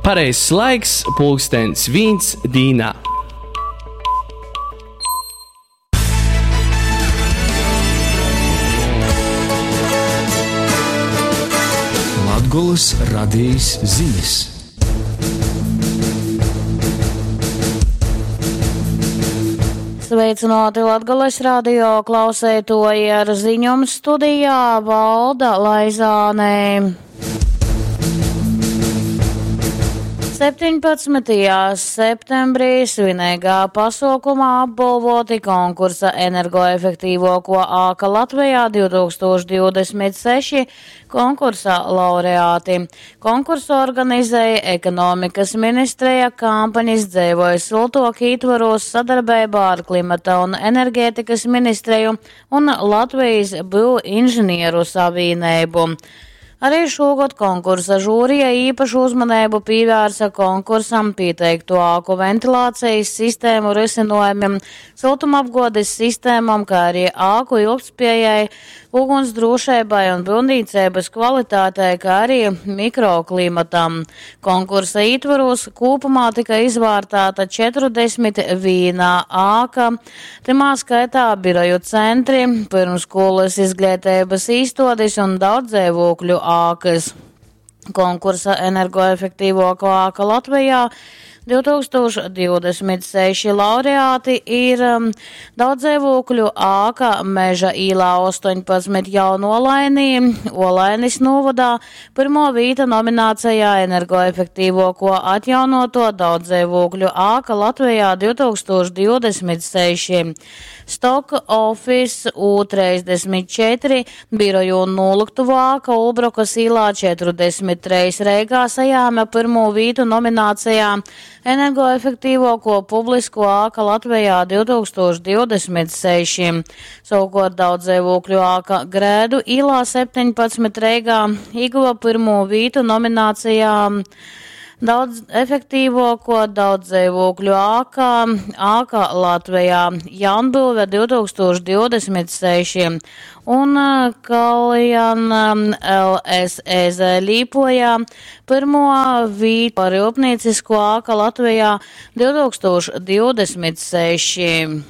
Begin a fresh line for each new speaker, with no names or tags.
Pareizs laiks pulkstens vīns dīnā.
Latgolys radejis zinis.
Sveicināti Latgales radio klauseitoji ar ziņom studijā Valda Laizāne. 17. septembrī svineigā pasuokumā apbolvoti konkursa Energoefektīvuokuo āka Latvejā 2026 konkursa laureāti. Konkursu organizēja Ekonomikas ministreja kampaņas Dzeivoj siltuok ītvorūs sadarbeibā ar Klimata un energētikas ministreju un Latvijas Byuvinžinieru savīneibu. Arī šogad konkursa žūrija īpašu uzmaneibu pievērsa konkursam pieteikto āku ventilācijas sistēmu risinojumiem, siltumapguodes sistēmām, kā arī āku ilgtspējai, ugunsdrošībai un būvniecības kvalitātei, kā arī mikroklimatam. Konkursa ietvaros kopumā tika izvērtēta 41 āka, timā skaitā biroju centri, pirmskolas izglītības īstodes un daudzdzīvokļu ākas. Konkursa energoefektīvākā āka Latvijā 2026 laureāti ir daudzdzīvokļu āka Meža īlā 18 Jaunolainī, Olainis novadā, pirmo vīta nominācijā energoefektīvāko atjaunoto daudzdzīvokļu āka Latvijā 2026. Stock Office U34 biroju un noliktuvu āka Ulbrokas īlā 43 Reigā sajāma pirmo vītu nominācijā energoefektīvāko publisko āka Latvijā 2026. Savukārt daudzdzīvokļu āka Grēdu īlā 17 Reigā ieguva pirmo vītu nominācijā Daudz efektīvāko daudzdzīvokļu ākā, āka Latvijā Jaunbūve 2026 un Kaljan LSEZ Līpojā pirmo vītu par rūpniecisko āka Latvijā 2026.